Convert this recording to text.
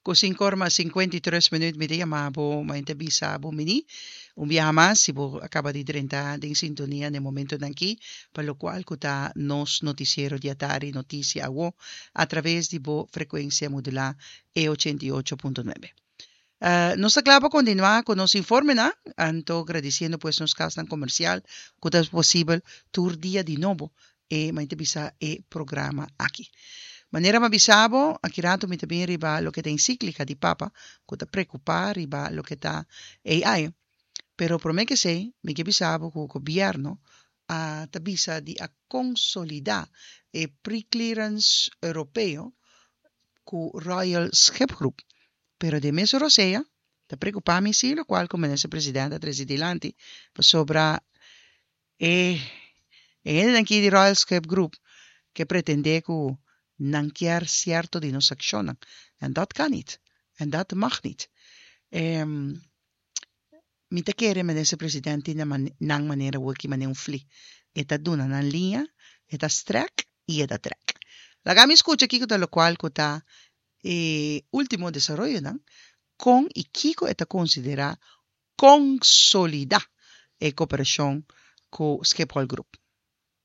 Ku sinkor mas 53 minüt mi ta yama bo mañana bisa bo mini un biaha mas si bo a kaba di drenta den sintonia na e momentonan aki pa lokual ku ta nos notisiero di atardi Notisia Awo a traves di bo frekuensia modulá e 88.9. Nos ta kla pa kontinuá ku nos informenan anto gradisiendo pues nos kasnan komersial ku ta posibel tur dia di nobo e mi ta bisa e programa aki. Manera mi a bisa bo, aki rato mi ta bin riba loke ta encíclica di Papa cu ta preocupa riba loke ta AI. Pero prome cu esey, mi ke bisa bo cu gobierno a ta bisa di a consolida e pre-clearance Europeo cu Royal Schipgroep. Pero den mesun rosea, ta preocupa mi si locual cu Minister President a trece dilanti pasobra E e hendenan aki di Royal Schip Group ke pretendé ku nan kier sierto di nos akshonnan. En dat kan niet. En dat mag niet. E mi ta kere Minister President tin nan manera wiki manera un fli. E ta duna nan liña, e ta strek i e ta trek. Laga mi skucha kiko ta lokual ku ta e último desaroyonan, kon i kiko e ta konsiderá konsolidá e koperashon ku Schiphol Group.